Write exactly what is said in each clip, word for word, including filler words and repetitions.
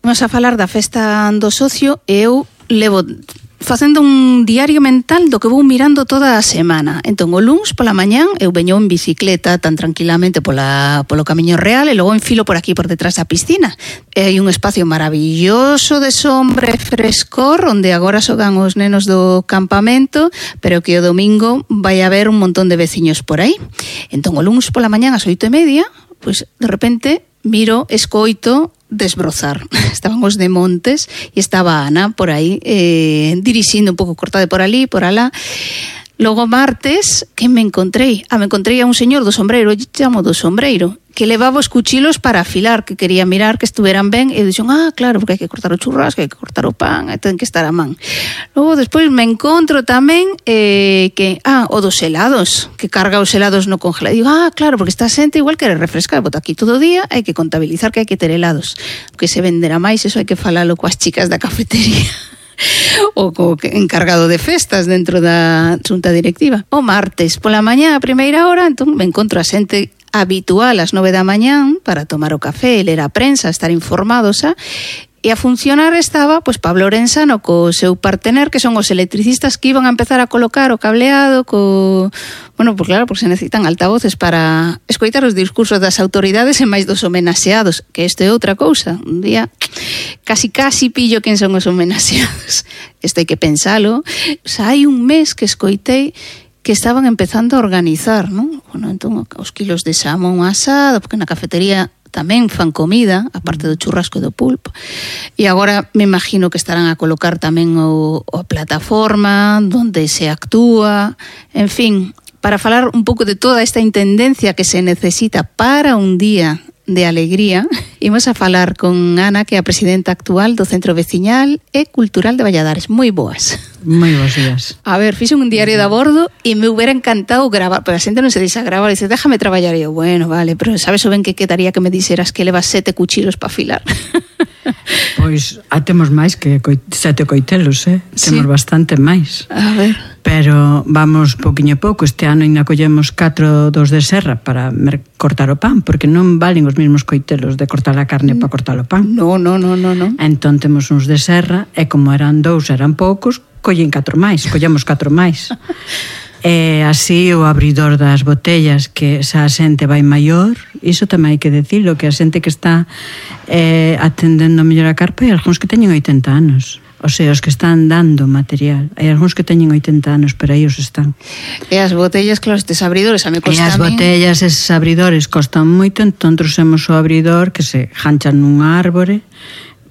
Vamos a falar da festa do socio e eu levo facendo un diario mental do que vou mirando toda a semana. Entón, o luns pola mañán eu veño en bicicleta tan tranquilamente pola, polo camiño real e logo enfilo por aquí por detrás da piscina. E hai un espacio maravilloso de sombra e frescor onde agora xogan os nenos do campamento, pero que o domingo vai haber un montón de veciños por aí. Entón, o luns pola mañán ás oito e media, pois de repente miro, escoito desbrozar. Estaban os de Montes e estaba Ana por aí eh, dirixindo un pouco cortada por ali, por alá. Logo martes, que me encontrei? Ah, me encontrei a un señor do sombreiro, eu chamo do sombreiro, que levaba os cuchilos para afilar, que quería mirar que estuveran ben, e dixo, ah, claro, porque hai que cortar o churrasco, hai que cortar o pan, e ten que estar a man. Logo, despois, me encontro tamén eh, que, ah, o dos helados, que carga os helados no congelador. E digo, ah, claro, porque esta xente igual quere refrescar, bota aquí todo o día, hai que contabilizar que hai que ter helados. Que se venderá máis, eso hai que falalo coas chicas da cafetería. O co encargado de festas dentro da xunta directiva. O martes pola mañá a primeira hora, entón me encontro a xente habitual ás nove da mañán para tomar o café, ler a prensa, estar informados, xa. E a funcionar estaba, pois, Pablo Orensano co seu partener, que son os electricistas que iban a empezar a colocar o cableado, co... Bueno, pois claro, porque se necesitan altavoces para escoitar os discursos das autoridades e máis dos homenaxeados, que isto é outra cousa. Un día casi casi pillo quen son os homenaxeados. Isto hai que pensalo. O sea, hai un mes que escoitei que estaban empezando a organizar, non? Bueno, entón, os kilos de xamón asado, porque na cafetería tamén fan comida, aparte do churrasco e do pulpo. E agora me imagino que estarán a colocar tamén o, o plataforma onde se actúa, en fin, para falar un pouco de toda esta intendencia que se necesita para un día de alegría, imos a falar con Ana, que é a presidenta actual do Centro Veciñal e Cultural de Valladares. Moi boas. Moi bons días. A ver, fixe un diario de a bordo e me hubiera encantado gravar, pero a xente non se deixa gravar, dice, déjame traballar. E eu, bueno, vale, pero sabes o ben que quedaría que me dixeras que levas sete cuchilos para afilar? Pois, a temos máis que sete coitelos, eh? Sí. Temos bastante máis. A ver. Pero vamos poquinho a pouco. Este ano ainda collemos catro dos de serra para cortar o pan, porque non valen os mesmos coitelos de cortar a carne para cortar o pan. No, no, no, no, no. Entón temos uns de serra, e como eran dous, eran poucos, collen catro máis, collemos catro máis. E así o abridor das botellas, que xa a xente vai maior, iso tamén hai que decirlo, que a xente que está eh, atendendo mellor a carpa, e algúns que teñen oitenta anos. O sea, os que están dando material. Hai algúns que teñen oitenta anos, pero aí os están. E as botellas, claro, estes abridores, a me costa a mí. E as botellas, eses abridores costan moito, entón trouxemos o abridor que se janchan nun árbore,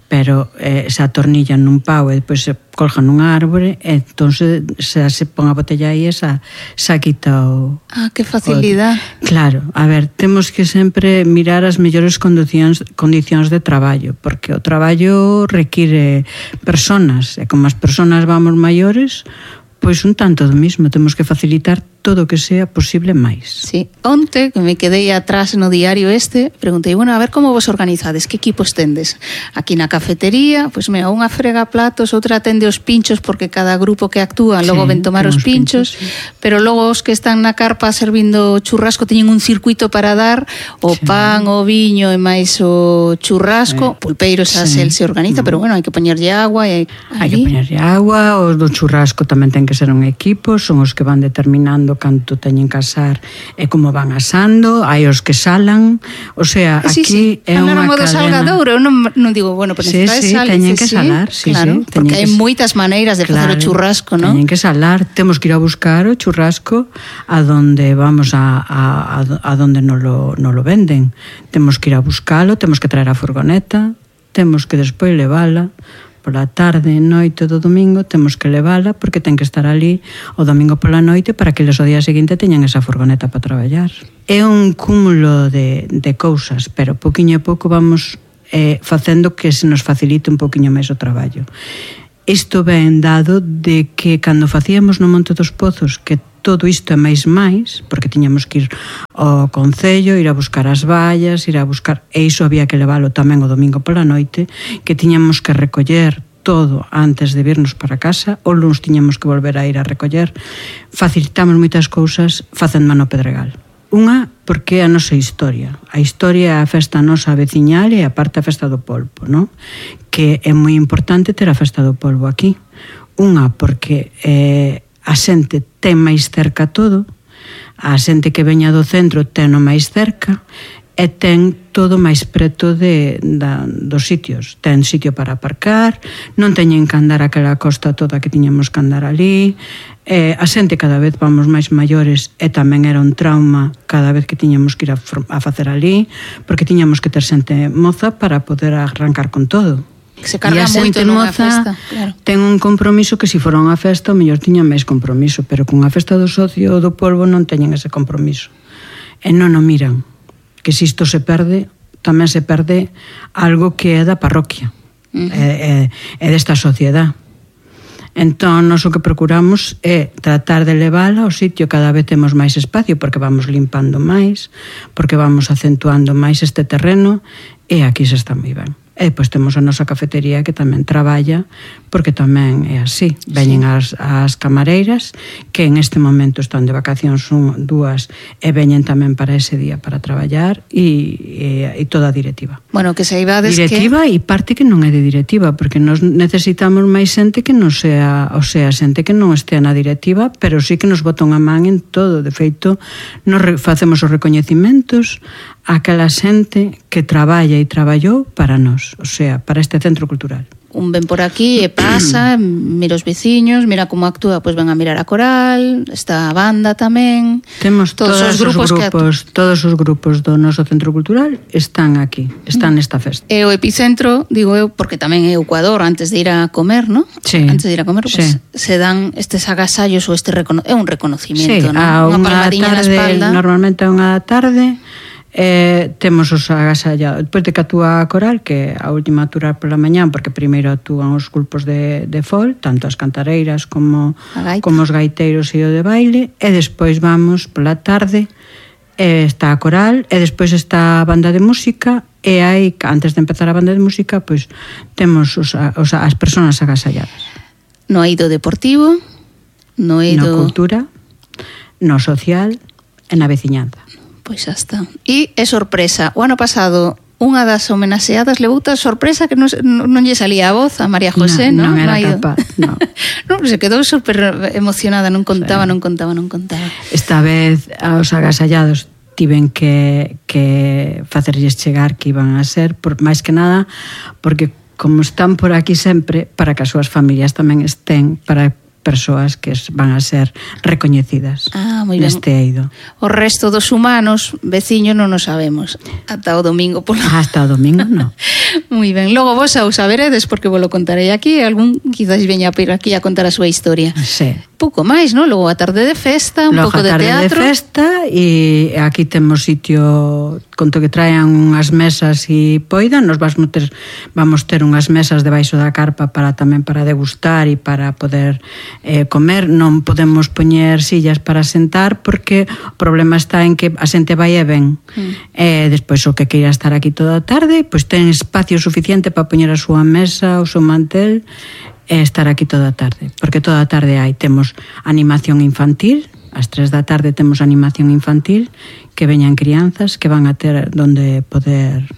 pero eh, se atornillan nun pau e depois se colgan nun árbore, e entón se, se, se pon a botella aí e xa, xa quita o... Ah, que facilidade. O, claro, a ver, temos que sempre mirar as mellores condicións, condicións de traballo, porque o traballo require personas, e como as personas vamos maiores, pois un tanto do mismo, temos que facilitar todo o que sea posible máis. Sí, onte, que me quedei atrás no diario este, preguntei, bueno, a ver como vos organizades, que equipos tendes? Aquí na cafetería, pois mira, unha frega platos, outra atende os pinchos, porque cada grupo que actúa logo sí, ven tomar os pinchos, pinchos sí. Pero logo os que están na carpa servindo churrasco teñen un circuito para dar o sí. Pan, o viño e máis o churrasco, sí. Pulpeiros a sí. Se organiza, pero bueno, hai que poñerlle agua e hai que poñerlle agua, os do churrasco tamén ten que ser un equipo, son os que van determinando canto teñen que asar e como van asando, hai os que salan, o sea, sí, aquí sí. É unha cadena. Salgadouro, eu non, non digo, bueno, pero sí, sí, sal, teñen dice, que salar, sí, claro, sí, porque hai que... moitas maneiras de claro, facer o churrasco, non? Teñen que salar, temos que ir a buscar o churrasco a donde vamos a, a, a, a donde non lo, non lo venden. Temos que ir a buscalo, temos que traer a furgoneta, temos que despois levala pola tarde, noite do domingo, temos que levala porque ten que estar ali o domingo pola noite para que eles o día seguinte teñan esa furgoneta para traballar. É un cúmulo de, de cousas, pero poquinho a pouco vamos eh, facendo que se nos facilite un poquinho máis o traballo. Isto ben dado de que cando facíamos no Monte dos Pozos, que todo isto é máis máis, porque tiñamos que ir ao concello, ir a buscar as vallas, ir a buscar, e iso había que leválo tamén o domingo pola noite, que tiñamos que recoller todo antes de virnos para casa, o luns tiñamos que volver a ir a recoller. Facilitamos moitas cousas facendo mano Pedregal. Unha, porque é a nosa historia. A historia é a festa nosa veciñal e a parte a festa do polvo, non? Que é moi importante ter a festa do polvo aquí. Unha, porque eh, a xente ten máis cerca todo, a xente que veña do centro ten o máis cerca, e ten todo máis preto de, da, dos sitios. Ten sitio para aparcar, non teñen que andar aquela costa toda que tiñamos que andar ali. Eh, a xente cada vez vamos máis maiores e tamén era un trauma cada vez que tiñamos que ir a, a facer ali, porque tiñamos que ter xente moza para poder arrancar con todo. Se carga moito nunha festa, claro. Ten un compromiso que se fora unha festa o mellor tiña máis compromiso, pero con a festa do socio do polvo non teñen ese compromiso. E non o miran. Que se isto se perde, tamén se perde algo que é da parroquia, uh-huh. é, é, é desta sociedade. Entón, nós o que procuramos é tratar de levala ao sitio, cada vez temos máis espacio, porque vamos limpando máis, porque vamos acentuando máis este terreno, e aquí se está moi ben. E depois temos a nosa cafetería que tamén traballa, porque tamén é así. Veñen as, as camareiras, que en este momento están de vacacións, son dúas, e veñen tamén para ese día para traballar, e, e, e toda a directiva. Bueno, que saibades que... Directiva e parte que non é de directiva, porque nos necesitamos máis xente que non sea, o sea, xente que non estea na directiva, pero sí que nos botan a man en todo. De feito, nos facemos os recoñecimentos a aquela xente que traballa e traballou para nós, o sea, para este centro cultural. Un ven por aquí e pasa, mira os veciños, mira como actúa, pois ven a mirar a coral, está a banda tamén. Temos todos os grupos, os grupos todos os grupos do noso centro cultural están aquí, están nesta festa. E o epicentro, digo eu, porque tamén é o Ecuador, antes de ir a comer, ¿no? Sí. Antes de ir a comer, sí. Pues, se dan estes agasallos ou este recono... é un reconocimiento, sí, ¿no? Unha palmadiña na espalda. Normalmente a unha da tarde. Eh, temos os agasallados depois de que actúa a coral, que a última actúa pola mañán, porque primeiro actúan os grupos de, de fol, tanto as cantareiras como, como os gaiteiros e o de baile, e despois vamos pola tarde, e está a coral, e despois está a banda de música, e aí, antes de empezar a banda de música, pois temos os, os, as persoas agasalladas. No eido deportivo, no eido... No cultura, no social e na veciñanza. Pois xa está. E é sorpresa. O ano pasado, unha das homenaxeadas levou tal sorpresa que non, non lle salía a voz a María José, non? Non, non era no capaz, non. Non, se quedou super emocionada, non contaba, sí. non contaba, non contaba. Esta vez, aos agasallados tiven que, que facerlles chegar que iban a ser, por máis que nada, porque como están por aquí sempre, para que as súas familias tamén estén, para persoas que van a ser recoñecidas ah, moi ben. Neste eido. O resto dos humanos, veciños, non o sabemos. Ata o domingo. Por... Hasta o domingo, non. Moi ben. Logo vos a o saberedes, porque vos lo contarei aquí. Algún quizás veña por aquí a contar a súa historia. Sí. Pouco máis, non? Logo a tarde de festa, un Logo pouco de teatro. Logo a tarde de festa, e aquí temos sitio, conto que traen unhas mesas e poidan, nos vamos ter, vamos ter unhas mesas debaixo da carpa para tamén para degustar e para poder eh, comer. Non podemos poñer sillas para sentar, porque o problema está en que a xente vai e ven. Mm. E despois o que queira estar aquí toda a tarde, pois ten espacio suficiente para poñer a súa mesa, o seu mantel, e estar aquí toda a tarde, porque toda a tarde hai, temos animación infantil, ás tres da tarde temos animación infantil, que veñan crianzas que van a ter donde poder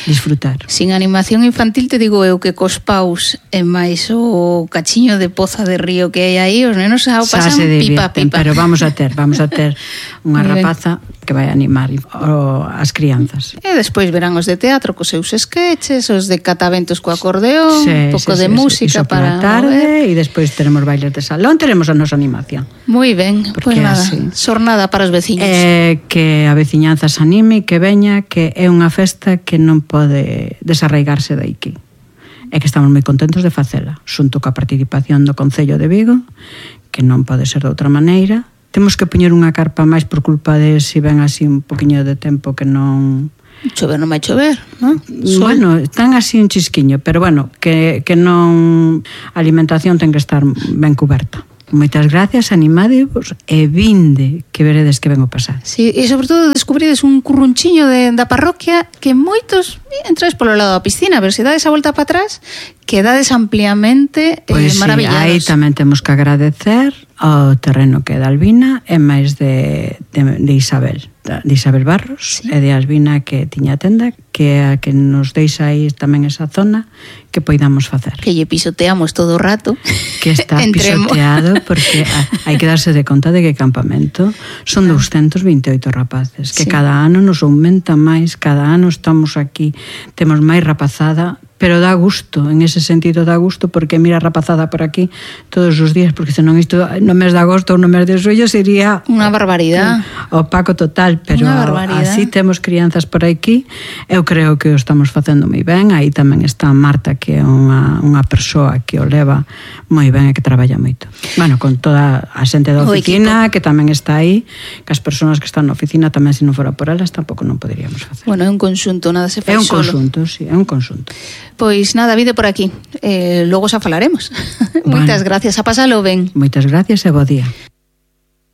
disfrutar. Sin animación infantil, te digo eu que cos paus e máis o cachiño de poza de río que hai aí, os nenos xa o pasan pipa pipa. Pero vamos a ter, vamos a ter unha rapaza que vai animar o, as crianzas. E despois verán os de teatro cos seus sketches, os de cataventos co acordeón, sí, un pouco sí, de sí, música sí, para tarde, e despois teremos bailes de salón, teremos a nosa animación. Moi ben, pois pues nada, así. Xornada para os veciños. Eh, que a veciñanza se anime, que veña, que é unha festa que non pode desarraigarse de aquí. É que estamos moi contentos de facela, xunto coa participación do Concello de Vigo, que non pode ser de outra maneira. Temos que poñer unha carpa máis por culpa de se ven así un poquinho de tempo que non... Chover non vai chover, non? Bueno, están así un chisquiño, pero bueno, que, que non... A alimentación ten que estar ben cuberta. Moitas gracias, animadevos e vinde, que veredes que vengo pasar. Sí, e sobre todo descubrides un currunchiño de, da parroquia que moitos entrades polo lado da piscina, pero se dades a volta para atrás, quedades ampliamente pues eh, maravillados. Pois sí, aí tamén temos que agradecer ao terreno que é de Albina e máis de, de, de Isabel. de Isabel Barros, sí. e de Albina, que tiña tenda, que a que nos deixa aí tamén esa zona que poidamos facer. Que lle pisoteamos todo o rato. Que está pisoteado, porque hai que darse de conta de que campamento son doscientos veintiocho rapaces, que sí. cada ano nos aumenta máis, cada ano estamos aquí, temos máis rapazada, pero dá gusto, en ese sentido dá gusto, porque mira a rapazada por aquí todos os días, porque senón isto no mes de agosto ou no mes de xullo sería unha barbaridade, opaco total, pero así temos crianzas por aquí. Eu creo que o estamos facendo moi ben. Aí tamén está Marta, que é unha, unha persoa que o leva moi ben e que traballa moito. Bueno, con toda a xente da oficina, que tamén está aí, que as persoas que están na oficina tamén, se non fora por elas, tampouco non poderíamos facer. Bueno, é un conxunto, nada se fai solo. É un solo. conxunto, sí, é un conxunto. Pois nada, vide por aquí. Eh, logo xa falaremos. Bueno. Moitas gracias, a pasalo ben. Moitas gracias e bo día.